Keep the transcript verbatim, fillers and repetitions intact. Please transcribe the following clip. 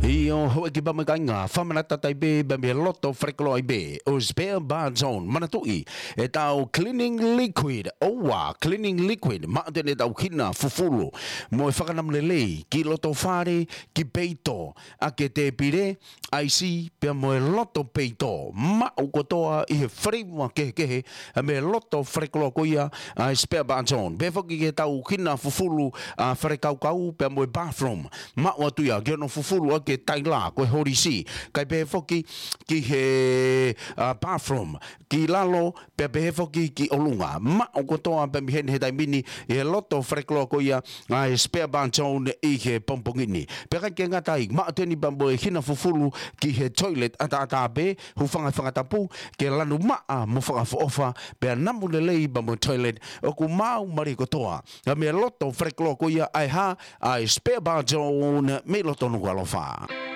ʻIo, houʻeiki pea mo e kāinga, fakamanatu atu ai pē, pea mei he loto falekoloa ai pē ʻo e Spare Bar Zone. Manatuʻi ʻetau cleaning liquid, ʻoua, cleaning liquid, maʻu atu eni ʻetau hina fufulu mo e fakanamu lelei ki loto fale, ki peito, ʻaki e tēpile, ʻaisi, pea mo e loto peito, maʻu kotoa ʻi he flavor kehekehe, ʻa e mei he loto falekoloa ko ia ʻa e Spare Bar Zone. Pehē foki ki heʻetau hina fufulu, ʻa, falekaukau, pea mo e bathroom, maʻu atu ia ki hono fufulu ʻaki e taila, ko e holisi. Kae pehē foki ki he, ʻa, bathroom, ki lalo, pea pehē foki ki ʻolunga. Maʻu kotoa pē mei heni he taimi ni ʻi he loto falekoloa ko ia ʻa e Spare Bar Zone ʻi he pongipongi ni. Pea ʻikai ke ngata ai, maʻu atu eni pea mo e hina fufulu ki he toilet ʻataʻatā pē, hūfanga he fanga tapu, ke lanu maʻa mo fakaʻofoʻofa, pea namu lelei pea mo e toilet, ʻoku maau mālie kotoa ʻa e mei he loto falekoloa ko ia ʻa e hā, ʻa e Spare Bar Zone mei loto Nukuʻalofa.